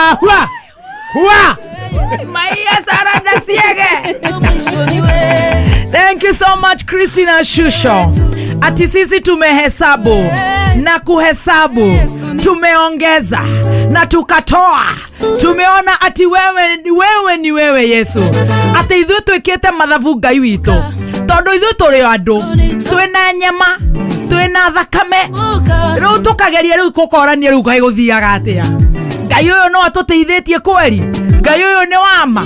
Hua hua. Hua. Maia Saranda Siege. Thank you so much Christina Shusho. Ati sisi tumehesabu na kuhesabu, tumeongeza na tukatoa. Tumeona ati wewe ni wewe Yesu. Ati ithuĩ twĩkĩte mathabu Ngai witũ. Tondũ ithuĩ tũrĩ andũ, twĩna nyama, twĩna thakame. Rĩu tũkageria rĩu gũkorania rĩu kaĩ gũthiaga atĩa. Ngai ũyũ no atũteithĩtie kweri. Ngai ũyũ nĩ wama.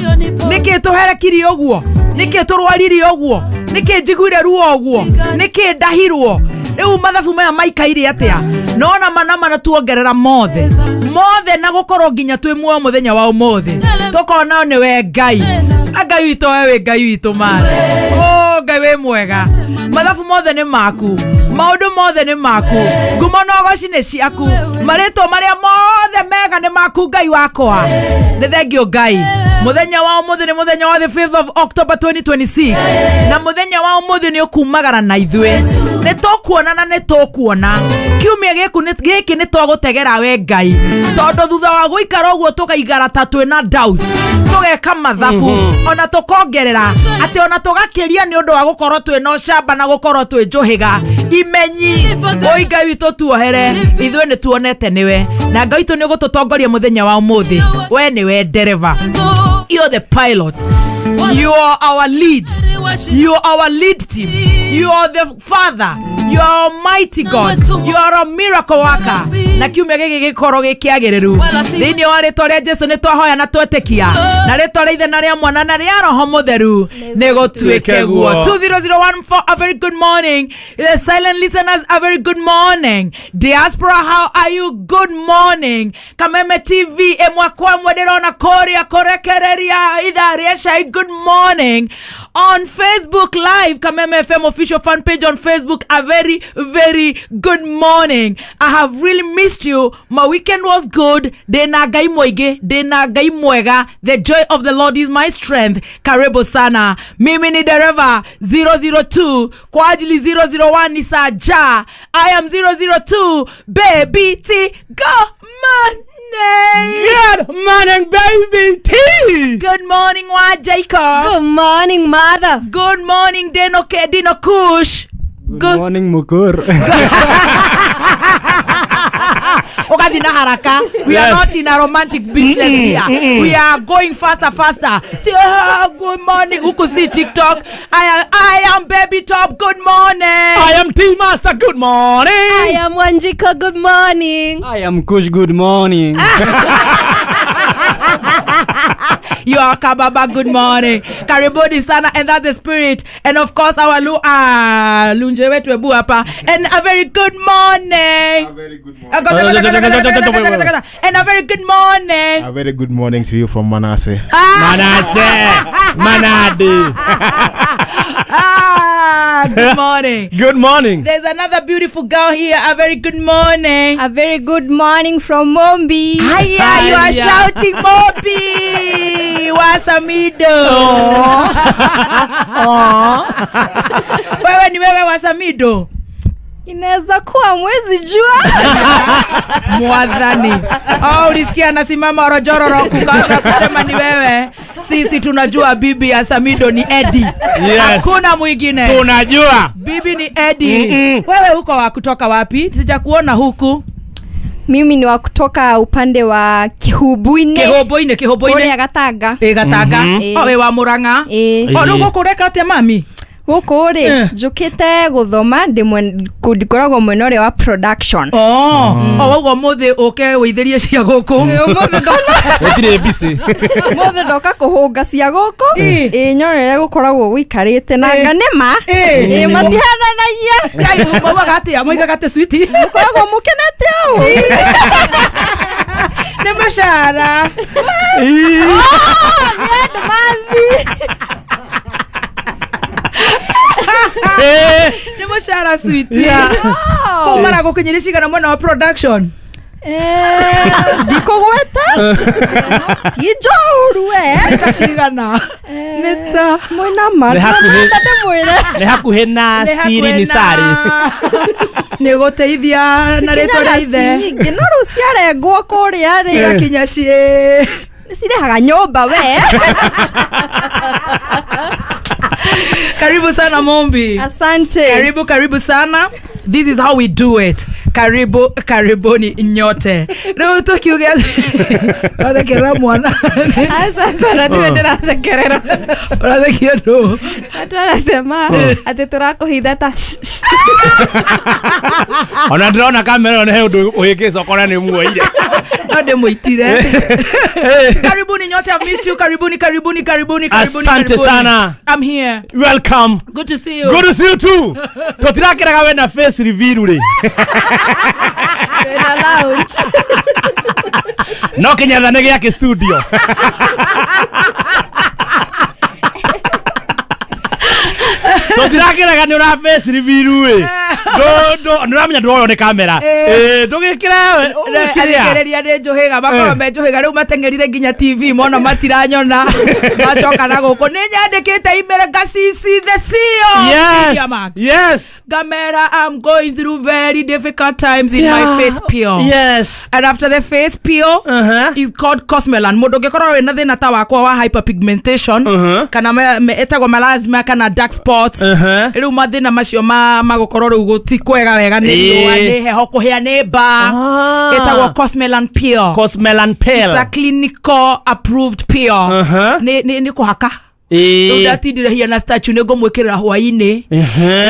Nĩkĩ tũherekirie ũguo? Nĩkĩ tũrwarire ũguo? Nĩkĩ njiguire ruo ũguo? Nĩkĩ ndahirwo? Rĩu mathabu maya maikaire atĩa? Nona mana mana tuongerera mothe. Mothe na gũkorwo nginya twĩ muoyo mũthenya wa ũmũthĩ. Tũkona nĩ we Ngai. Ngai witũ wewe Ngai witũ mara. Oh Ngai wĩ mwega. Mathabu mothe nĩ maku. Maũndũ mothe nĩ maku. Ngumo na ũgoci nĩ ciaku. Marĩtwa marĩa mothe mega nĩ maku Ngai wakwa. Nĩ thengio Ngai. Mũthenya wa ũmũthĩ nĩ mũthenya wa the 5th of October 2026. Na mũthenya wa ũmũthĩ nĩ ũkumagara na ithuĩ. Nĩ tũkuona na nĩ tũkuona. Kiumia gĩkĩ nĩ twagũtegera we Ngai. Tondũ thutha wa gũikara ũguo tũkaigara ta twĩna doubts. Tũgeka mathabu ona tũkongerera atĩ ona tũgakĩria nĩ ũndũ wa gũkorwo twĩna ũcamba na gũkorwo twĩ njũhĩga. Imenyi oi Ngai witũ tuohere ithuĩ nĩ tuonete nĩwe na Ngai witũ nĩ ũgũtũtongoria mũthenya wa ũmũthĩ. We nĩwe ndereba. You're the pilot. You are our lead. You are our lead team. You are the father. You are almighty God. You are a miracle worker. Na kiumia gĩkĩ gĩkorwo gĩkĩagĩrĩru. Thĩinĩ wa rĩtwa rĩa Jesu nĩ twahoya na twetĩkia. Na rĩtwa rĩa Ithe na rĩa Mwana na rĩa Roho Mũtheru nĩ gũtuĩke guo. 20014, a very good morning. The silent listeners, a very good morning. Diaspora, how are you? Good morning. Kameme TV ĩmwe kwa ĩmwe ndĩrona kũrĩa kũrekereria ithaa rĩa cai. Good morning. On Facebook Live, Kameme FM official fan page on Facebook, a very, very good morning. I have really missed you. My weekend was good. Ndĩna Ngai mũingĩ, ndĩna Ngai mwega. The joy of the Lord is my strength. Karibu sana. Mimi ni dereva 002 kwa ajili 001 ni Saja. I am 002 Baby T. Good morning. Good morning, Baby T. Good morning, wa Jacob. Good morning, mother. Good morning, Dino K, Dino Kush. Good morning, Mukur. Okathi na haraka. We are not in a romantic business here. We are going faster, faster. Good morning. Huku si TikTok. I am Baby Top. Good morning. I am T Master. Good morning. I am Wanjika. Good morning. I am Kush. Good morning. You are Kababa, good morning. Karibuni sana, and that's the spirit. And of course our lunje wetu ebu hapa. And a very good morning. A very good morning. And a very good morning. A very good morning to you from Manasseh. Manasseh. Manadi. Good morning. Good morning. There's another beautiful girl here. A very good morning. A very good morning from Mombi. Hiya, you are shouting Mombi. Wasamido. Wewe ni wewe Wasamido. Inaweza kuwa mwezi jua. Mwadhani. Oh, ulisikia anasimama orojororo kukaanza kusema ni wewe. Sisi tunajua bibi ya Samido ni Eddie. Yes. Hakuna mwingine. Tunajua. Bibi ni Eddie. Wewe huko wa kutoka wapi? Sijakuona huku. Mimi ni wa kutoka upande wa Kihubuine. Kihubuine, Kihubuine. Kule Gatanga. Gatanga. Oh, we wa Murang'a. Oh, rĩu gũkũ ũreka atĩa mami? Gũkũ rĩ njũkĩte gũthoma ndikoragwo mwena ũrĩa wa production. Oh, ũguo mũthĩ ũke wĩithĩrie cia gũkũ. Gũtirĩ busy. Mũthĩ ndoka kũhũnga cia gũkũ. Ĩ nyone ũrĩa gũkoragwo gũikarĩte na anga nĩ ma. Ĩ matihananagia. Ngai maugaga atĩa? Moigaga atĩ sweetie. Mũkoragwo mũkenete ũũ. Nĩ mũcara. Nĩ andũ mathi. Nĩ mũcara sweetie. Kũu maragũkinyĩria cigana mwena wa production? Ndikũgweta ti njoru we ta cigana nĩ ta mwĩna ma ndĩmwĩre nĩ hakuhĩ na siri ni sari nĩ gũteithia na rĩtwa rĩa ithe nyingĩ no rĩu ciarengwo kũrĩa rĩ igakinya ciĩ cirehaga nyũmba we. Karibu sana Mombi. Asante. Karibu karibu sana. This is how we do it. Karibu karibuni nyote. Rĩu tũkiuge wathekerera mwana. Sasa ndio ndĩrathekerera. Ũrathekia ndũ? Watu wanasema ati tũrakũhitha ta. Ona ndĩrona kamera ĩyo nĩ he ũndũ ũhĩngĩca ũkona nĩ muoire. No ndĩmũitire. Karibuni nyote, I've missed you. Karibuni karibuni karibuni karibuni. Asante sana. I'm here. Welcome. Good to see you. Good to see you too. Tũtirakĩraga we na face reveal rĩ. Na lounge. No Kenyatta nĩ gĩake studio. Tũtirakĩraga nĩ ũra face reveal rĩ. Nĩ ũramenya ndũroywo nĩ kamera. Ndũgĩkĩre kĩrĩa. Athikĩrĩria nĩ njũhĩga makorwo me njũhĩga rĩu mateng'erire nginya TV mona matiranyona macoka na gũkũ nĩ nyandĩkĩte email ngacc the CEO. Yes. Yes. Gamera, I'm going through very difficult times in my face peel. Yes. And after the face peel is called Cosmelan. Mũndũ ũngĩkorwo wĩna thĩna ta wakwa wa hyperpigmentation kana ĩtagwo melasma kana dark spots rĩu mathĩna macio magũkorwo rĩu gũtikwega wega nĩ riũa nĩ heho kũhĩa nĩ mbaa ĩtagwo Cosmelan peel. Cosmelan peel. It's a clinical approved peel. Nĩ kũhaka. Rĩu ndatindire hiana statue nĩ ngũmwĩkĩrĩra hwaĩ-inĩ.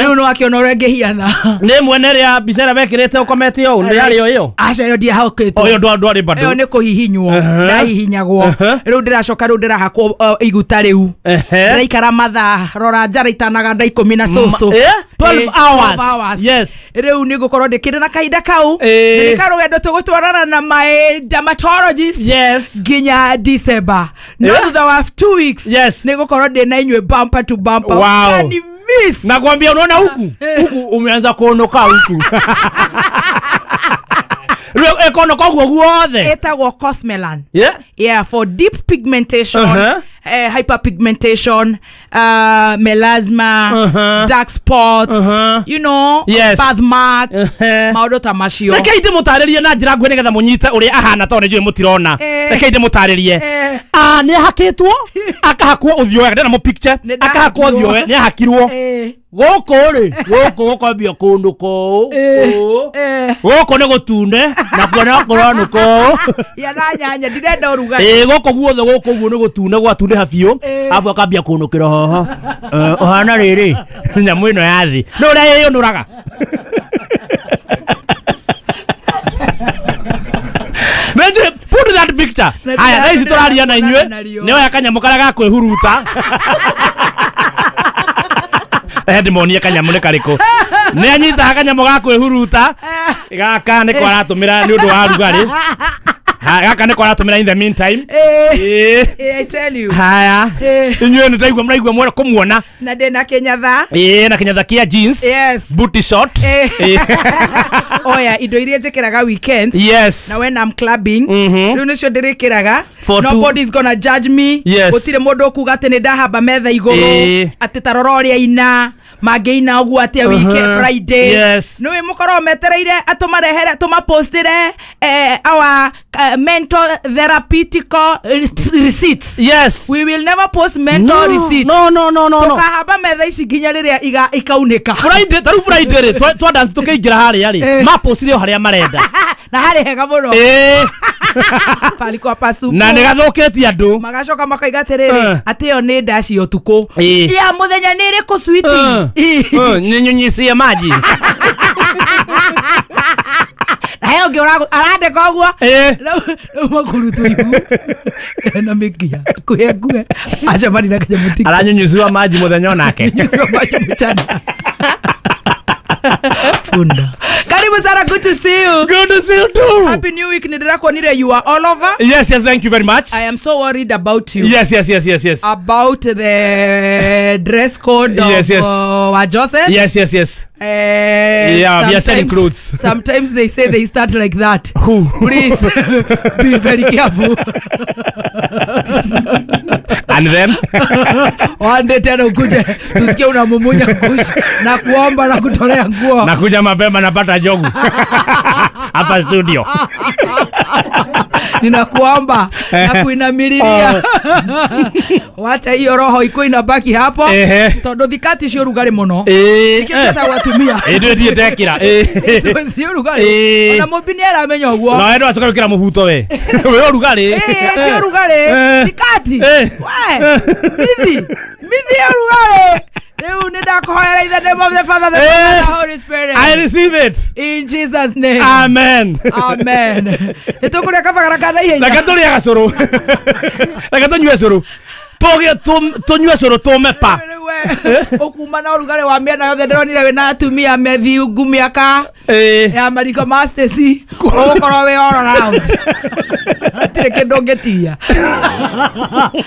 Rĩu nĩ wakĩona ũrĩa ngĩhiana. Nĩ mwene rĩa mbica ĩrĩa wekĩrĩte ũkomete ũũ nĩ yarĩ o ĩyo? Aca ĩyo ndiahakĩtwo. Ĩyo ndwarĩ bado. Ĩyo nĩ kũhihinywo. Ndahihinyagwo. Rĩu ndĩracoka rĩu ndĩrahakwo iguta rĩu. Ndĩraikara mathaa rora njara itanaganda 10 na cũcũ. 12 hours. Yes. Rĩu nĩ ngũkorwo ndĩkĩrĩ na kahinda kau. Nĩ karũgendo tũgũtwarana na my dermatologist. Yes. Nginya December. No thutha wa 2 weeks. Yes. Nĩ gũkorwo ndĩ na inyuĩ bumper to bumper. Wow. Miss. Nakwambia unaona huku huku umeanza kuonoka huku. Rĩu ĩkonoka ũguo guothe. Ĩtagwo Cosmelan. Yeah. Yeah, for deep pigmentation, hyperpigmentation, melasma, dark spots, you know, yes. Birthmarks, maũndũ ta macio. Reke ndĩmũtarĩrie na njĩra nguhĩ nĩgetha mũnyite ũrĩa ahana tondũ nĩ njũĩ mũtirona. Reke ndĩmũtarĩrie. Nĩ ahakĩtwo, akahakwo ũthiũ wega, ndĩna mũ picture, akahakwo ũthiũ wega, nĩ ahakirwo. Gũkũ rĩ, gũkũ gũkambia kũndũ kũũ, gũkũ nĩ gũtune, nakuo no kũronũka ũũ. Ya na nyanya, ndirenda ũrugarĩ. Gũkũ guothe gũkũ ũguo nĩ gũtune gwatunĩha biũ, arabu akambia kũnũkĩra haha. Ũhana rĩrĩ, nyamũ ĩno ya thĩ. Nĩ ũrĩa ĩyũnũraga. Put that picture. Haya, thaa ici tũraria na inyuĩ, nĩ oya kanyamũ karĩa ga kwĩhuruta. Ndĩmonie kanyamũ nĩ karĩkũ. Nĩ anyitaga kanyamũ ga kwĩhuruta. Gaka nĩko aratũmĩra nĩ ũndũ wa rugarĩ. Gaka nĩko aratũmĩra in the meantime. I tell you. Haya. Inyuĩ nĩ ndaigua mũraigua mwera kũmuona. Na ndĩna kĩnyatha. Na kĩnyatha kĩa jeans. Yes. Booty short. Oya, indo iria njĩkĩraga weekends. Yes. Na when I'm clubbing, rĩu nĩcio ndĩrĩkĩraga. Nobody's gonna judge me. Yes. Gũtirĩ mũndũ ũkuga atĩ nĩ ndahamba metha igũrũ. Atĩ ta rora ũrĩa ina. Mangĩina ũguo atĩa weekend Friday. Yes. Nĩũĩ mũkorwo metereire atũmarehere tũmapostĩre our mental therapeutical receipts. Yes. We will never post mental receipts. No. Tũkahamba metha ici nginya rĩrĩa ikaunĩka. Friday, taru Friday rĩ, twa dance tũkĩingĩra harĩa rĩ, mapostire o harĩa marenda. Na harĩ hega mũno. Palikuwa pasupu. Na nĩ gathũkĩtie andũ. Magacoka makaiga atĩrĩrĩ, atĩ ĩyo nĩ ndaci ũtukũ. Ya mũthenya nĩ ĩrĩkũ sweetie? Ninyunyicie maji. Na he ũngĩ arandĩka ũguo. Rĩu makũrutwo ihu. Na mĩkia. Kuhe nguhe. Acemania na kanyamũ tiko. Aranyunyuciwa maji mũthenya onake. Nyunyuciwa maji mchana. Funda. Karibu sana, good to see you. Good to see you too. Happy New Week. Nindirakuonire you are all over. Yes, yes, thank you very much. I am so worried about you. Yes, yes, yes, yes, yes. About the dress code of yes, yes. Wa Joseph. Yes, yes, yes. Yeah, we are selling clothes. Sometimes they say they start like that. Who? Please be very careful. And then one day tena ukuje tusikie unamumunya kush na kuomba na kutolea nguo. Nakuja mapema napata jogu. Hapa studio. Ninakuomba na kuinamililia. Wacha hiyo roho iko inabaki hapo. Tondu thikati cio rugari muno. Nikio tutawatumia. Ndio ndiye ndekira. Cio rugari. Ona mumbi ni aramenya uguo. Na endo acoka gwikira muhuto we. We rugari. Cio rugari. Thikati. We. Mithi. Mithi ya rugari. Rĩu nĩ ndakuhoera in the name of the Father, the Son, and the Holy Spirit. I receive it. In Jesus' name. Amen. Amen. Nĩ tũkũrĩa kabagara kana ihenya. Reke tũrĩe gacũrũ. Reke tũnyue cũrũ. Tũnyue cũrũ tũme pa. Ũkuma na ũrugarĩ wa mĩena yothe ndĩronire wĩna atumia methiungu mĩaka ya mariko ma Stacy. Ũgũkorwo wĩ all around. Hatirĩ kĩndũ ũngĩtigia.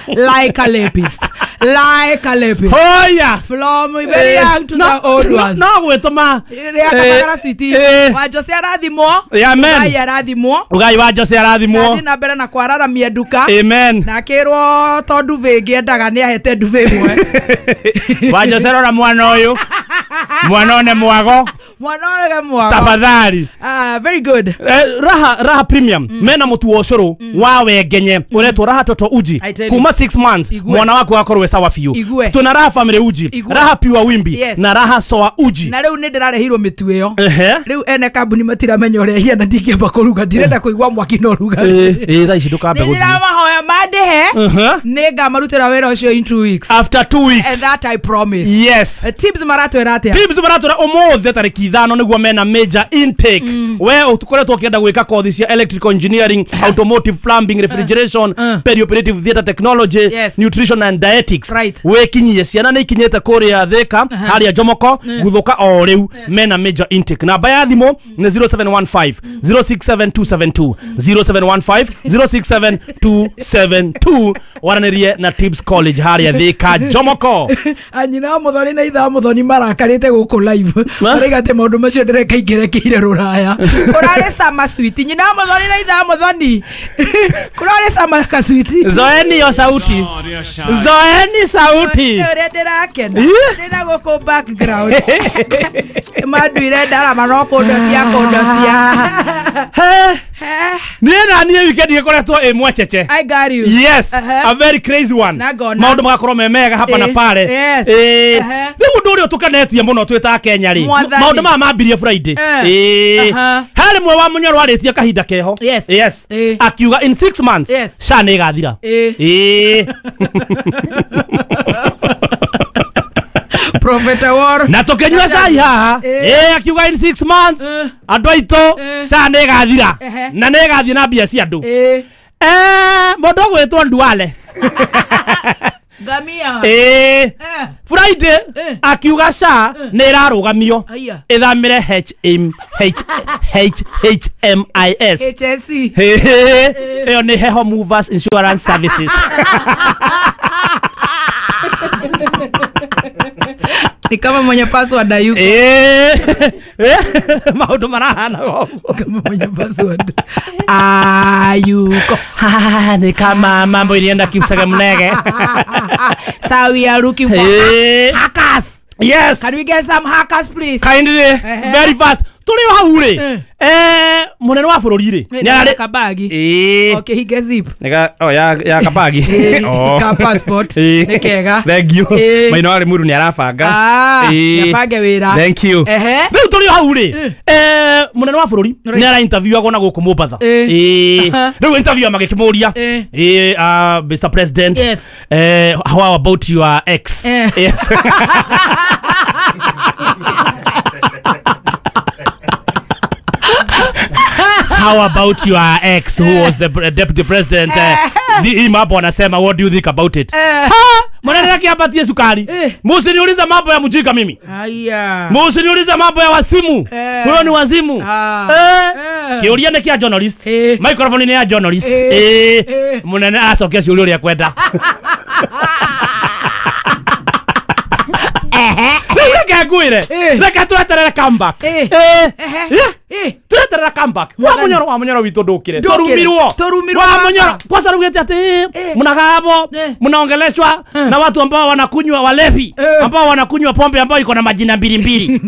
Like a rapist. Like a rapist. Oh yeah. From very young to the old ones. No gwĩtũma. Rĩa kabagara switi. Wa Jose arathimwo. Amen. Ngai arathimwo. Ngai wa Jose arathimwo. Athiĩ na mbere na kwararamia nduka. Amen. Na akĩrwo to ndube ĩngĩ endaga nĩ ahete ndube ĩmwe. Wa Jose rora mwana ũyũ. Mwana one mwago. Mwana one mwago. Tafadhali. Very good. Raha Premium. Mena mutu wa ũcũrũ wa wengenye uretwo Raha Toto Uji kuma 6 months mwana waku akorwo we sawa biũ. Tuna Raha Family Uji, Raha Pure Wimbi na Raha Soa Uji. Na rĩu nĩ ndĩrarehirwo mĩtu ĩyo. Rĩu ene kambuni matiramenya ũrĩa ĩhiana ndingĩamba kũruga ndirenda kũigua mwaki na ũrugarĩ. Thaa ici ndũkambe gũthiĩ. Nĩndĩramahoya mandĩhe nĩngamarutĩra wĩra ũcio in 2 weeks. After 2 weeks. And that I promise. Yes. Tips maratwĩra atĩa? Tips maratwĩra ũmũthĩ tarĩki 5 nĩguo mena major intake. We ũkoretwo ũkĩenda gwĩka kothi cia electrical engineering, automotive, plumbing, refrigeration, perioperative theater technology, nutrition and dietetics. Wĩkinyie ciana nĩ ikinyĩte kũrĩa Thika harĩa Jomoko gũthũka o rĩu mena major intake. Namba ya thimũ nĩ 0715 067272 0715 067272 waranĩrie na Tips College harĩa Thika Jomoko. Anyina wa Muthoni na ithaa Muthoni marakarĩte gũkũ live maraiga atĩ maũndũ macio ndĩreka ingĩrekeire rũraya. Kũrarĩ sama sweet. Nyina wa Muthoni na ithaa Muthoni kũrarĩ sama ka sweet. Zoeni yo sauti. Zoeni sauti. Ũrĩa ndĩrakena ndĩna gũkũ background manduire ndarama no kũndotia kũndotia. Niĩ na niĩ weekend ĩkoretwo ĩ mwecece. I got you. Yes, a very crazy one. Maũndũ magakorwo me mega hapa na pale. Rĩu ũndũ ũrĩa ũtũkenetie mũno twĩ ta Kenya rĩ, maũndũ maya mambirie Friday. Harĩ mwe wa Mũnyoro warĩtie kahinda keho. Yes. Akiuga in 6 months SHA nĩ ĩgathira. Prophet Awar. Na tukinyua cai haha. Akiuga in 6 months andũ aitũ SHA nĩ ĩgathira. Na nĩ ĩgathiĩ na mbia cia andũ. Mũndũ ũgwĩtwo Nduale. Ngamia. Friday akiuga SHA nĩ ĩrarũgamio ĩthamĩre HMIS. HSC. Ĩyo nĩ Heho Movers Insurance Services. Ni kama mwenye password hayuko. Maũndũ marahana ũguo. Kama mwenye password hayuko. Ni kama mambo ilienda kimsega mnege. So we are looking for hackers. Yes. Can we get some hackers please? Kindly. Very fast. Tũrĩ o hau rĩ. Mũnene wa bũrũri rĩ. Nĩ arĩ kabagi. Okay, he gets zip. Nĩga oh ya kabagi. Ka passport. Nĩ kega. Thank you. Maino arĩ mũru nĩ arabanga. Nĩabange wĩra. Thank you. Rĩu tũrĩ o hau rĩ. Mũnene wa bũrũri nĩ ara interview na gũkũ Mombatha. Rĩu interview magĩkĩmũria. Mr President. Yes. How about your ex? Yes. How about your ex who was the deputy president? Hii mambo anasema, what do you think about it? Ha! Mwanana yake apatie sukari. Msiniulize mambo ya mjika mimi. Haya. Msiniulize mambo ya wasimu. Huyo ni wazimu. Kiuria ni kia journalist. Microphone ni ya journalist. Mwanana acokia ciuria uria kwenda. Reke ngwire. Reke tweterere comeback. Tweterere comeback. Wa munyoro witũ ndũkire. Turumirwo. Wa munyoro. Kwanza rugete ati mnagabo, mnaongeleshwa na watu ambao wanakunywa walevi, ambao wanakunywa pombe ambao iko na majina mbili mbili.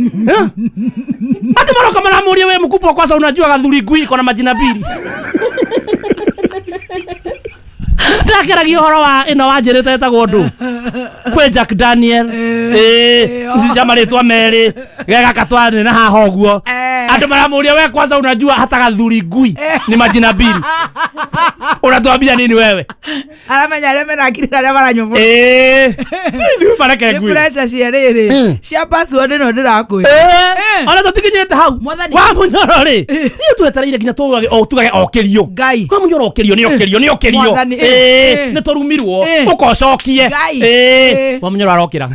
Hata mara kama namuulia wewe mkubwa kwanza unajua gathuri ngui iko na majina mbili. Ndakeragia ũhoro wa ĩno wanjĩrĩte ĩtagwo ndũ kwĩ Jack Daniel cia marĩtwa merĩ gegaka twarĩ na haha ũguo andũ maramũria we kwanza unajua hata gathuri ngui ni majina mbili unatuambia nini wewe aramenya arĩa mena akili na arĩa maranyua ithuĩ mareke ngui nĩ pressure cia rĩrĩ cia password ĩno ndĩrakwĩra ona tũtikinyĩte hau wa munyoro rĩ niĩ twetereire nginya tugage okĩrio wa munyoro okĩrio nĩ okĩrio nĩ okĩrio nĩ tũrumirwo ũkocokie wa munyoro arokĩra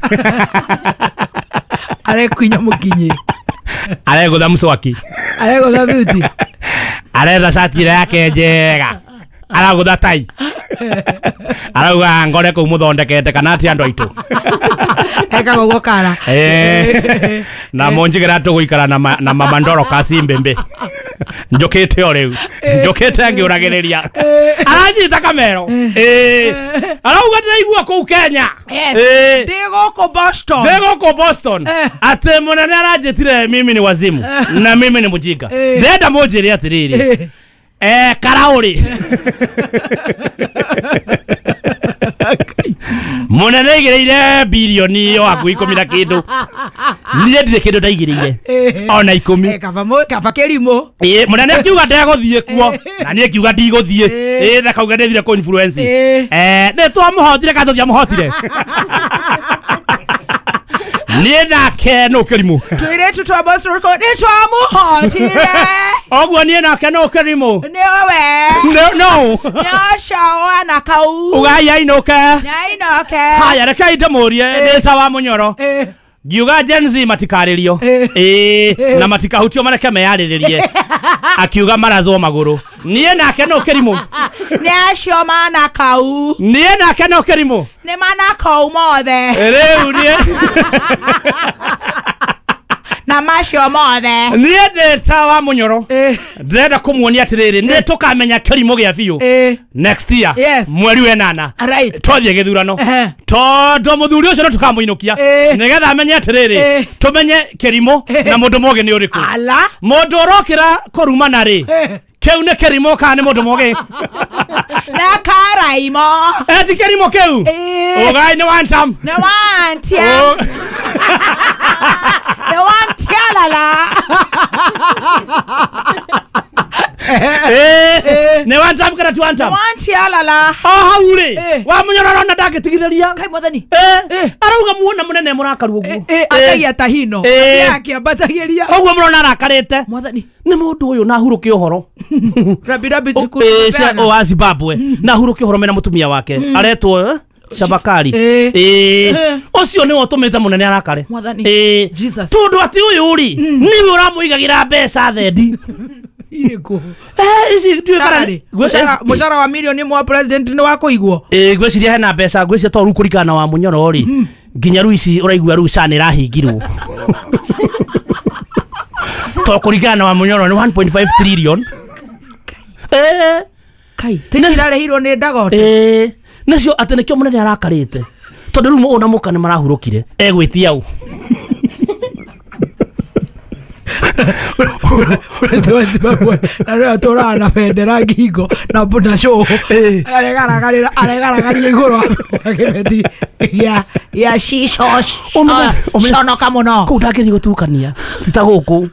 arekwinya mũkinyi aregũtha mswaki aregũtha thuti aretha cati ĩrĩa yake njega aragũtha tai arauga ngore kũu mũthondekete kana ti andũ aitũ ekaga ũguo kara na mũnjigĩra tũgũikara na mama Ndoroka cimbĩmbĩ njũkĩte o rĩu njũkĩte ngĩũragĩrĩria aranyita kamero arauga ndĩraigua kũu Kenya ndĩ gũkũ Boston atĩ mũnene aranjĩtire mimi ni wazimu na mimi ni mũjinga ndĩrenda mũnjĩre atĩrĩrĩ karaũrĩ mũnene aigĩrĩire birioni o hakuhĩ 10 na kĩndũ niĩ ndirĩ kĩndũ ndaigĩrĩire ona 10 kaba kĩrimũ mũnene akiuga ndegũthiĩ kuo na niĩ ngiuga ndigũthiĩ na kauga ndĩthire kũ influence nĩ twamũhotire kana tũtiamũhotire niĩ nake nũ kĩrimũ tũirĩtu twa Boston nĩ twamũhotire ũguo niĩ nake nũ kĩrimũ nĩwe no nĩ ũcio wana kau ugai ainũke nĩainũke haya rekei ndĩmũrie ndĩ ta wa munyoro ngiuga Gen Z matikarĩrio na matikahutio mareke meyarĩrĩrie akiuga marathwo magũrũ niĩ nake nũ kĩrimũ nĩ acio mana kau niĩ nake nũ kĩrimũ nĩ mana kau mothe rĩu niĩ na macio mothe niĩ ndĩ ta wa munyoro ndĩrenda kũmuonia atĩrĩrĩ nĩ tũkamenya kĩrimũ gĩa biũ next year mweri wa 8 twathiĩ gĩthurano tondũ mũthuri ũcio no tũkamũinũkia nĩgetha amenye atĩrĩrĩ tũmenye kĩrimũ na mũndũ mũgĩ nĩ ũrĩkũ mũndũ ũrokĩra kũrumana rĩ kĩu nĩ kĩrimũ kana nĩ mũndũ mũgĩ na karaimo ti kĩrimũ kĩu ũgai nĩ one time nĩ one time nĩ one tialala nĩ one time kana ti one time one tialala o hau rĩ wa mũnyororo na ndangĩtigithĩria kai mwathani arauga muona mũnene mũrakaru ũguo akagia tahino akĩambatagĩria ũguo mũrona arakarĩte mwathani nĩ mũndũ ũyũ na hurũke ũhoro rabi rabi cukuru wa Zimbabwe na hurũke ũhoro mena mũtumia wake aretwo Shabakari ũcio nĩwe ũtũmĩte mũnene arakare tondũ atĩ ũyũ rĩ nĩwe ũramũigagĩra mbeca thendi irĩkũ ici ndiũĩ kana mũcara wa milioni mwa president nĩ wa kũigwo ngwĩciria hena mbeca ngwĩciria to rĩu kũringana na wa mũnyoro rĩ nginya rĩu ici ũraigua rĩu SHA nĩ ĩrahingirwo to kũringana na wa mũnyoro nĩ 1.5 trillion kai tĩci irarĩhirwo nĩ Dagote nacio atĩ nĩkĩo mũnene arakarĩte tondũ rĩu ona mũka nĩ marahurũkire egwĩtia ũ President wa Zimbabwe na rĩu atũraga na bendera ngingo na show aregaragaria igũrũ wa kĩbeti gĩa cico conoka mũno kũu ndangĩthiĩ gũtukania ti ta gũkũ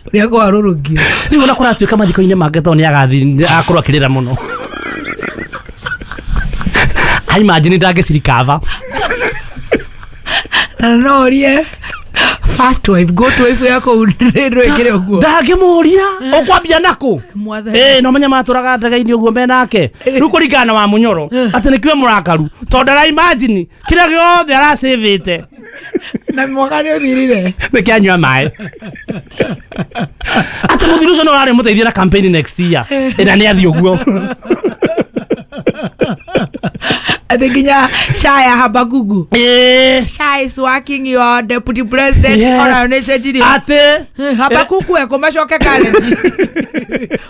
ũrĩa kwarũrũkio rĩu ona kũratuĩka mathiko-inĩ make tondũ nĩ agathiĩ akorwo akĩrĩra mũno I imagine ndangĩcirikava na no ũrie first wife go to wife yako ndwĩkĩre ũguo ndangĩmũria ũkwambia nakũ no menya matũraga ndege-inĩ ũguo menake rĩu kũringana na wa mũnyoro atĩ nĩkĩo mũrakaru tondũ ara imagine kĩrĩa gĩothe aracĩvĩte na mwaka nĩ ũthirire nĩkĩanyua maĩ atĩ mũthuri ũcio no ũrarĩ mũteithia na campaign next year na nĩ athiĩ ũguo Ati nginya Shaya Habagugu. Shaya is working your deputy president. Ona nĩ cenjirie. Ati Habakuku eko macoke kare.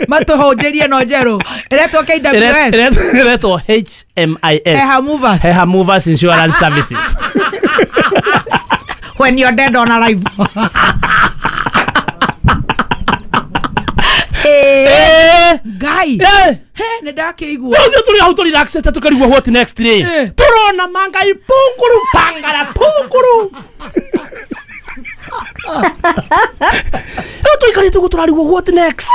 Matũhũnjĩrie no njerũ. Ĩretwo KWS. Ĩretwo HMIS. Heha Movers. Heha Movers Insurance Services. When you're dead on arrival. Guy. Nĩ ndakĩigua. Rĩu tũrĩ hau tũrĩ relaxed tũkarigwo what next rĩ. Tũrona mangai punguru pangara punguru. Rĩu tũikarĩte ũguo tũrarigwo what next.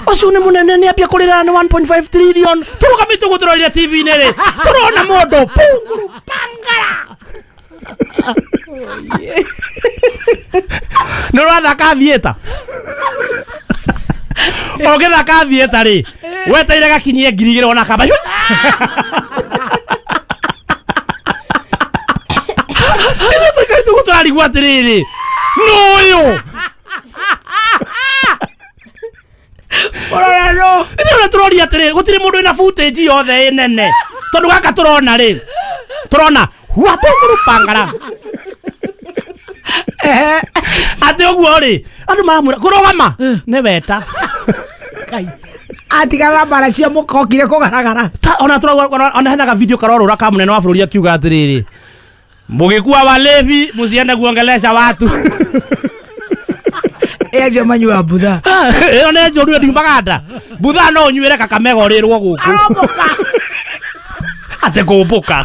Ũcio nĩ mũnene nĩ ambia kũrĩra nĩ 1.5 trillion. Tũrũgamĩte ũguo tũrorire TV-inĩ rĩ. Tũrona mũndũ punguru pangara. Nĩ ũrathaka theatre. Ũgĩthaka theatre rĩ, wetereire gakinyie 2000 ona kamba. Ithuĩ tũikarĩte ũguo tũrarigwo atĩrĩrĩ, nũ ũyũ? Ũrora nũ? Ithuĩ ona tũroria atĩrĩrĩ, gũtirĩ mũndũ wĩna footage yothe ĩ nene. Tondũ gaka tũrona rĩ, tũrona hua punguru pangara. Atĩ ũguo rĩ, andũ maramwĩra kũrũgama nĩ weta. Atigara mbara cia mũkokire kũgaragara. Ona tũrauga ona hena ga video karorũra ka mũnene wa bũrũri akiuga atĩrĩrĩ, mũgĩkua walevi mũciende kuongelesha watu. Acio manyua mbutha. Ĩyo nĩ njũru ndiumaga nda. Mbutha no ũnyuĩre Kakamega ũrĩrwo gũkũ. Aromboka. Atĩ kũmbũka.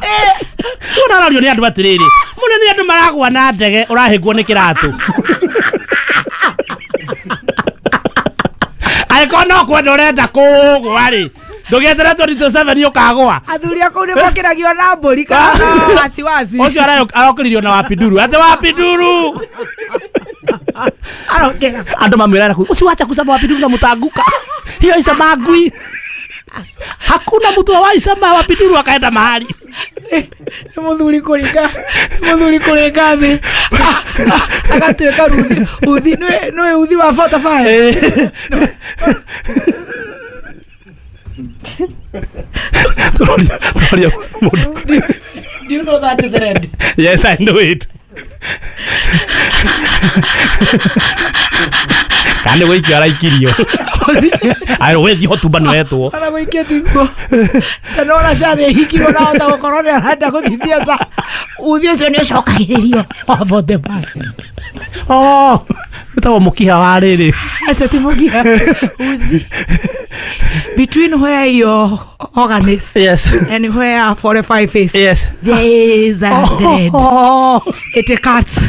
Ũna arario nĩ andũ atĩrĩrĩ, mũnene andũ maragwa na ndege ũrahĩngwo nĩ kĩratũ. Angĩkorwo no kwenda ũrenda kũgwa rĩ, ndũgĩeterere 2027 ũkagwa. Athuri a kũu nĩ mokĩragio na mbũri kana na wasiwasi. Ũcio arokĩririo na wapinduru. Atĩ wapinduru. Arokĩra. Andũ mamwĩraga kũu, ũcio wacha kusema wapinduru na mũtanguka. Hiyo isema ngui. Hakuna mtu awaisema wapinduru akaenda mahali. Nĩ mũthuri kũringa, mũthuri kũringa thĩ. Agatuĩka ruthi, uthi nĩ uthi wa 45. Tũroria mũndũ. Do you know that thread? Yes, I know it. Kana gũikio araikirio. Ayo wethi hotuba nĩ wetwo. Ona gũikia tiguo. Tondũ ona SHA nĩ ĩhingirwo na ahota gũkorwo nĩ arenda gũthiĩ theatre. Uthi ũcio nĩ ũcokagĩrĩrio wa 45. Oh, wĩtagwo mũkiha wa rĩrĩ. Acio ti mũkiha. Uthi. Between where your organ is, yes, and where 45 is, yes, there is a thread. It cuts.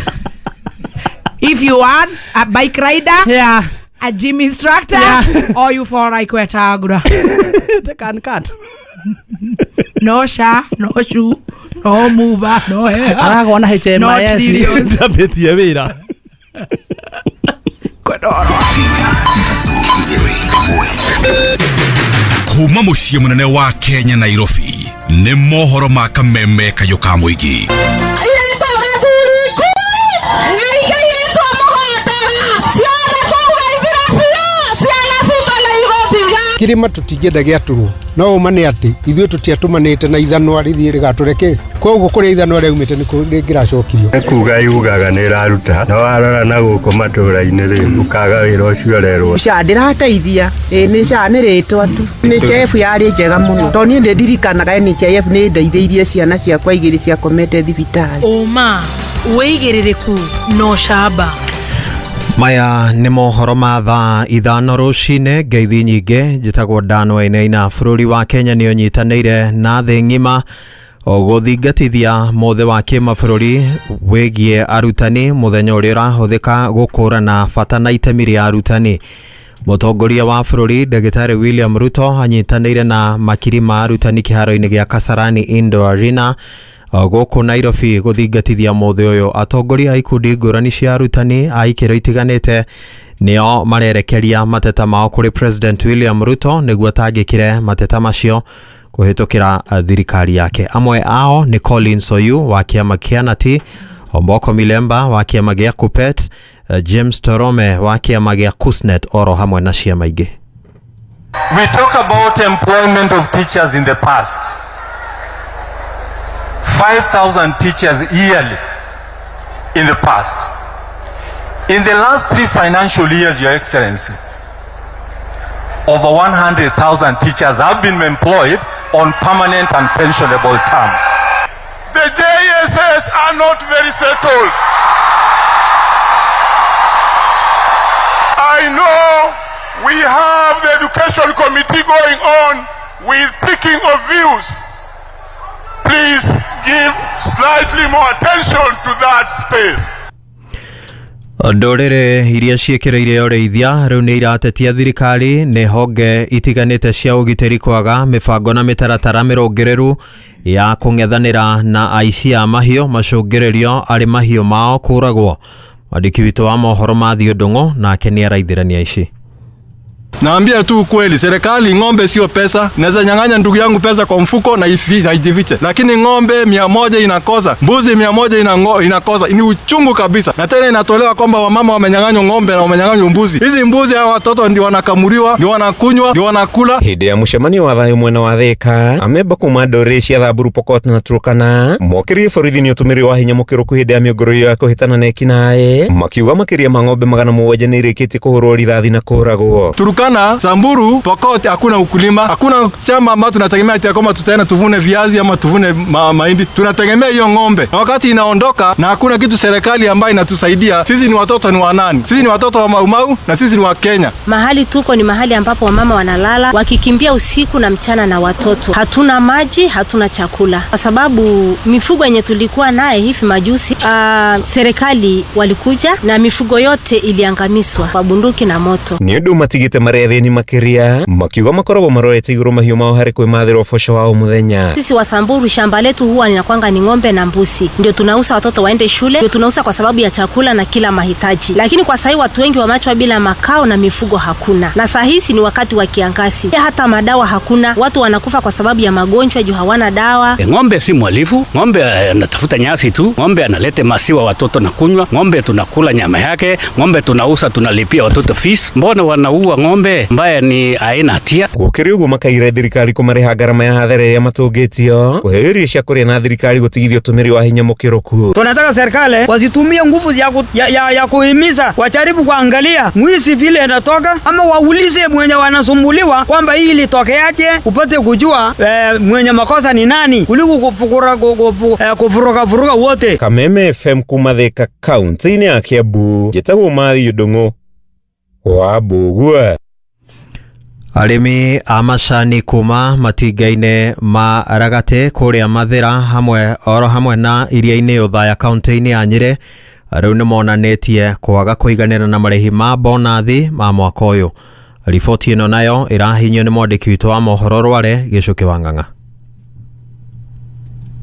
If you are a bike rider, yeah, a gym instructor, yeah, or you fall like Wetagura. It can cut. No SHA, no shoe, no mover, no hair. Aragwa na HMIS. No trillions. Ambĩtie wĩra. Kuma mũciĩ mũnene wa Kenya Nairobi nĩ mohoro ma kameme kayũ ka mũingĩ. Kirima tutingĩenda gĩatũrwo no ũma nĩ atĩ ithuĩ tũtiatũmanĩte na ithanwa rĩthiĩ rĩgatũre koguo kũrĩa ithanwa rĩaumĩte nĩ rĩngĩracokirio. Kuga yugaga nĩ ĩraruta no warora na gũkũ matũra-inĩ rĩ ũkaga wĩra ũcio ũrerwo. SHA ndĩrateithia nĩ SHA nĩ rĩtwa tu nĩ NHIF yarĩ njega mũno tondũ niĩ nĩ ndirikanaga NHIF nĩ ndeithĩirie ciana ciakwa igĩrĩ ciakomete thibitarĩ. Ũma wĩigĩrĩrĩku no shaba. Maya nĩ mohoro ma thaa 5 rũcinĩ. Ngeithi nyingĩ njĩtagwo Dan Wainaina. Bũrũri wa Kenya nĩ ũnyitanĩire na thĩ ng'ima gũthingatithia mũthĩ wa kĩmabũrũri wĩgiĩ arutani, mũthenya ũrĩa ũrahũthĩka gũkũrana bata na itemi rĩa arutani. Mũtongoria wa bũrũri Ndagĩtarĩ William Ruto anyitanĩire na makiri ma arutani kĩharo-inĩ gĩa Kasarani Indoor Arena gũkũ Nairobi gũthingatithia mũthĩ ũyũ. Atongoria a ikundi ngũrani cia arutani a ikĩro itiganĩte nĩo marerekeria mateta mao kũrĩ President William Ruto nĩguo atangĩkĩre mateta macio kũhĩtũkĩra thirikari yake. Amwe ao nĩ Collins Oyu wa kĩama kĩa Nati, Omboko Milemba wa kĩama gĩa Kupet, James Torome wa kĩama gĩa Kusnet oro hamwe na ciama ingĩ. We talk about employment of teachers in the past. 5,000 teachers yearly in the past. In the last 3 financial years, Your Excellency, over 100,000 teachers have been employed on permanent and pensionable terms. The JSS are not very settled. I know we have the education committee going on with picking of views. Please give slightly more attention to that space. Ndũrĩrĩ iria ciĩkĩrĩire ũrĩithia rĩu nĩ iratetia thirikari nĩ honge itiganĩte cia ũgitĩri kwaga mĩbango na mĩtaratara mĩrũngĩrĩru ya kũng'ethanĩra na aici a mahiũ macũngĩrĩrio arĩ mahiũ mao kũragwo. Mwandĩki witũ wa mohoro Matthew Ndung'u nake nĩ araithĩrania ici. Naambia tu ukweli, serikali ng'ombe sio pesa. Naweza nyang'anya ndugu yangu pesa kwa mfuko na ijifiche. Lakini ng'ombe 100 inakosa, mbuzi 100 inakosa. Ni uchungu kabisa. Na tena inatolewa kwamba wamama wamenyang'anywa ng'ombe na wamenyang'anywa mbuzi. Hizi mbuzi hawa watoto ndio wanakamuliwa, ndio wanakunywa, ndio wanakula. Hĩndĩ ya mũcemanio wa thayũ mwena wa Thika, amemba kuma ndũrĩrĩ cia Thamburu, Pokot na Turkana mokĩrie borithi nĩ ũtũmĩri wa hinya mũkĩrũku hĩndĩ ya mĩũngũrũrio ya kũhĩtana na ekinaĩ, makiuga makĩria ma ng'ombe 700 nĩ irĩkĩtie kũhũrwo rithathi na kũragwo. Turkana, Samburu, Pokot hakuna ukulima, hakuna shamba ambayo tunategemea ati kama tutaenda tuvune viazi ama tuvune mahindi. Tunategemea hiyo ng'ombe. Na wakati inaondoka na hakuna kitu serikali ambayo inatusaidia. Sisi ni watoto ni wanani? Sisi ni watoto wa Maumau na sisi ni wa Kenya. Mahali tuko ni mahali ambapo wamama wanalala wakikimbia usiku na mchana na watoto. Hatuna maji, hatuna chakula. Kwa sababu mifugo yenye tulikuwa naye hivi majuzi, serikali walikuja na mifugo yote iliangamizwa kwa bunduki na moto. Ni ũndũ matigĩte marĩa makiria makiuga makoragwo marorete igũrũ mahiũ mao harĩ kwĩmathĩra ũboco wao mũthenya. Sisi wa Samburu shamba letu huwa linakwanga ni ng'ombe na mbuzi. Ndio tunauza watoto waende shule, ndio tunauza kwa sababu ya chakula na kila mahitaji. Lakini kwa sasa watu wengi wameachwa bila makao na mifugo hakuna. Na saa hizi ni wakati wa kiangazi. Hata madawa hakuna. Watu wanakufa kwa sababu ya magonjwa juu hawana dawa. Ng'ombe si mwalifu, ng'ombe anatafuta nyasi tu, ng'ombe analete masiwa watoto na kunywa, ng'ombe tunakula nyama yake, ng'ombe tunauza tunalipia watoto fees. Mbona wanaua ng'ombe ambaye ni aina hatia? Gũkĩrĩ ũguo makaira thirikari kũmarĩha ngarama ya hathara ĩrĩa matũngĩtio kũheo irio cia kũrĩa na thirikari gũtigithia ũtũmĩri wa hinya mũkĩrũku. Tunataka serikali wasitumie nguvu ya kuhimiza, wajaribu kuangalia mwizi vile anatoka, ama waulize mwenye wanasumbuliwa kwamba hii ilitokeaje, upate kujua mwenye makosa ni nani kuliko kufuruka wote. Kameme FM kuma Thika kaunti-inĩ ya Kiambu, njĩtagwo Matthew Ndung'u wa Mbũgua. Arĩmi a macani kuma matinga-inĩ ma Ragate kũrĩa Mathĩra hamwe oro hamwe na iria-inĩ Othaya kaunti-inĩ ya Nyĩrĩ rĩu nĩmonanĩtie kwaga kũiganĩra na marĩhi ma bonathi ma mwaka ũyũ. Riboti ĩno nayo ĩrahinyio nĩ mwandĩki witũ wa mohoro Rware Gĩcũkĩ wa Ng'ang'a.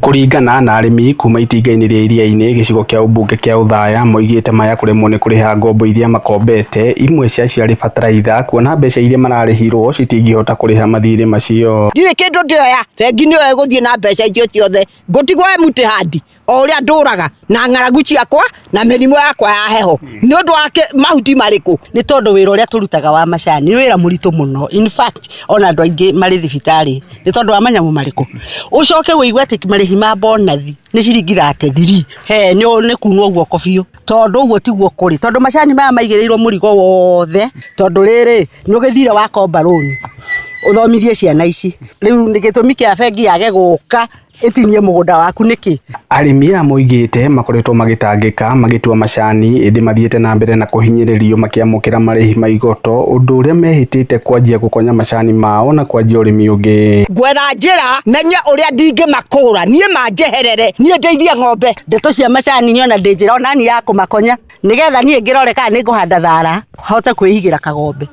Kũringana na arĩmi kuma itinga-inĩ rĩa iria-inĩ gĩcigo kĩa ũmbunge kĩa Othaya moigĩte maya kũremwo nĩ kũrĩha ngombo iria makombete, imwe cia ciarĩ bataraitha, kuona mbeca iria mararĩhirwo citingĩhota kũrĩha mathirĩ macio. Ndirĩ kĩndũ ndĩoya, bengi nĩyo ĩgũthiĩ na mbeca icio ciothe, ngũtigwo empty hand o ũrĩa ndũraga na ng'aragu ciakwa na mĩrimũ yakwa ya heho nĩ ũndũ wa mahuti marĩkũ. Nĩ tondũ wĩra ũrĩa tũrutaga wa macani nĩ wĩra mũritũ mũno, in fact ona andũ aingĩ marĩ thibitarĩ nĩ tondũ wa manyamũ marĩkũ. Ũcoke ũigue atĩ marĩhi ma bonathi nĩ ciringi 33, he nĩ kunwo guoko biũ, tondũ ũguo tiguo kũrĩ, tondũ macani maya maigĩrĩirwo mũrigo wothe, tondũ rĩrĩ nĩ ũgĩthire wakomba rũni ũthomithie ciana ici, rĩu nĩ gĩtũmi kĩa bengi yage gũka ĩtinie mũgũnda waku nĩkĩ? Arĩmi aya moigĩte makoretwo magĩtangĩka magĩtua macani ĩndĩ mathiĩte na mbere na kũhinyĩrĩrio makĩamũkĩra marĩhi ma igoto, ũndũ ũrĩa mehĩtĩte kwanjia gũkonya macani mao na kwanjia ũrĩmi ũngĩ. Ngwetha njĩra menye ũrĩa ndingĩmakũra niĩ manjeherere, niĩ ndeithie ng'ombe. Ndeto cia macani niona ndĩ njĩra onani ya kũmakonya nĩgetha niĩ ngĩrore kana nĩ ngũhanda thara hote kwĩigĩra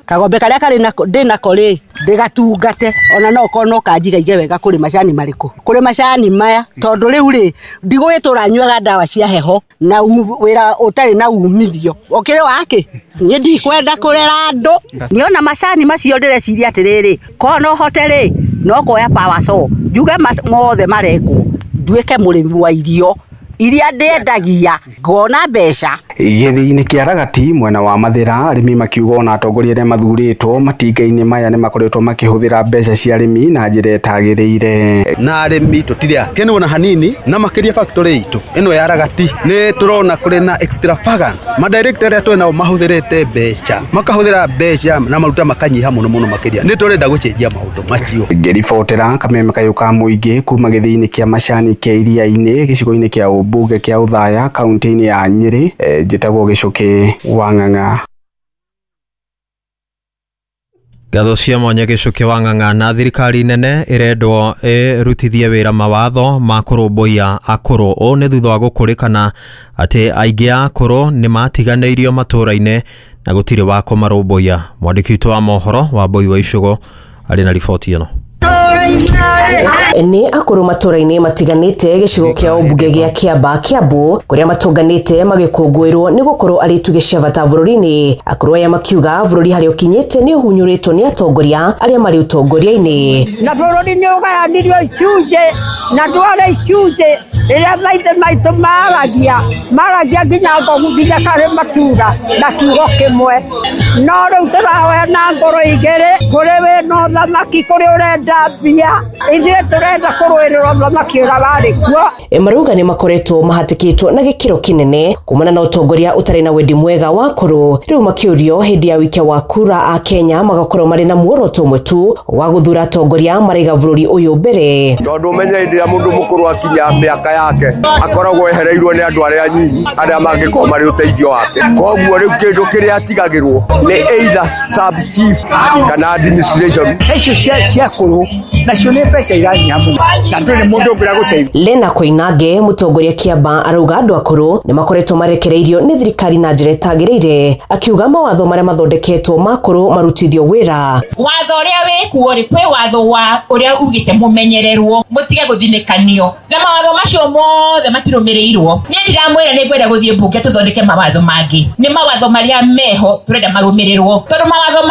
kagombe karĩa karĩ nako ndĩ nako rĩ ndĩgatungate, ona no korwo no kanjigaige wega kũrĩ macani marĩkũ, kũrĩ macani maya, tondũ rĩu rĩ ndigũgĩtũra nyuaga ndawa cia heho na wĩra ũtarĩ na umithio ũkĩrĩ wakĩ. Niĩ ndikwenda kũrera andũ, niona macani macio ndĩreciria atĩrĩrĩ, korwo no hote rĩ no kuoya power saw njuge mothe marengwo nduĩke mũrĩmi wa irio iria ndĩendagia ngona mbeca. Gĩthĩi-inĩ kĩa Ragati mwena wa Mathĩra, arĩmi makiuga ona atongoria arĩa mathurĩtwo matinga-inĩ maya nĩmakoretwo makĩhũthĩra mbeca cia arĩmi na njĩra ĩtagĩrĩire. Na arĩmi tũtirĩ akenu ona hanini, na makĩria factory itũ ĩno ya Ragati nĩ tũrona kũrĩ na extravagance. Madirector arĩa twĩ nao mahũthĩrĩte mbeca, makahũthĩra mbeca na maruta makanyiha mũno mũno makĩria. Nĩ tũrenda gũcenjia maũndũ macio. Ngĩribotera kameme kayũ ka mũingĩ kuma gĩthĩi-inĩ kĩa Macani kĩa Iria-inĩ gĩcigo-inĩ kĩa ũmbunge kĩa Othaya kaunti-inĩ ya Nyĩrĩ, njĩtagwo Gĩcũkĩ wa Ng'ang'a. Ngatho cia mwanya Gĩcũkĩ wa Ng'ang'a. Na thirikari nene ĩrendwo ĩrutithie wĩra mawatho ma kũrũmbũiya akũrũ. Ũũ nĩ thutha wa gũkũrĩkana atĩ aingĩ a akũrũ nĩ matiganĩirio matũũra-inĩ na gũtirĩ wa kũmarũmbũiya. Mwandĩki witũ wa mohoro Wambui wa Icũgũ arĩ na riboti ĩno. Nĩ akũrũ matũũra-inĩ matiganĩte gĩcigo kĩa ũmbunge gĩa Kĩamba Kĩambu kũrĩa matũnganĩte magĩkũngũĩrwo nĩ gũkorwo arĩ itugĩ cia bata bũrũri-inĩ. Akũrũ aya makiuga bũrũri harĩa ũkinyĩte nĩ ũhunyũrĩtwo nĩ atongoria arĩa marĩ ũtongoria-inĩ. Na bũrũri nĩ ũgayanirio icunjĩ na ndware icunjĩ rĩrĩa maithe maitũ maragia nginya ngogu nginya karĩ matura na kiugo kĩmwe. No rĩu tũrahoya na ngoro igĩrĩ, kũrĩ wĩna ũthamaki, kũrĩ ũrenda mbia, ithuĩ tũrenda kũrũĩrĩra ũthamaki ũrĩa warĩ kuo. Marauga nĩ makoretwo mahatĩkĩtwo na gĩkĩro kĩnene kumana na ũtongoria ũtarĩ na wendi mwega wa akũrũ. Rĩu makĩũrio hĩndĩ ya wĩkia wa kura a Kenya magakorwo marĩ na muoroto ũmwe tu wa gũthura atongoria maraiga bũrũri ũyũ mbere. Tondũ ũmenye hĩndĩ ĩrĩa mũndũ mũkũrũ akinya mĩaka yake akoragwo ehereirwo nĩ andũ arĩa anyinyi arĩa mangĩkorwo marĩ ũteithio wake. Koguo rĩu kĩndũ kĩrĩa atigagĩrwo nĩ either sub chief kana administration. Icio cia akũrũ nacio nĩ mbeca iranyiha mũno na ndũrĩ mũndũ ũngĩra gũteithia. Lena Koinange mũtongoria Kĩamba arauga andũ akũrũ nĩ makoretwo marekereirio nĩ thirikari na njĩra ĩtagĩrĩire, akiuga mawatho marĩa mathondeketwo ma akũrũ marutithio wĩra. Watho ũrĩa wĩkuo rĩ, kwĩ watho wa ũrĩa ugĩte mũmenyererwo mũtige gũthinĩkanio, na mawatho macio mothe matirũmĩrĩirwo. Niĩ ndiramwĩra nĩ ngwenda gũthiĩ mbunge tũthondeke mawatho mangĩ, nĩ mawatho marĩa meho tũrenda marũmĩrĩrwo, tondũ mawatho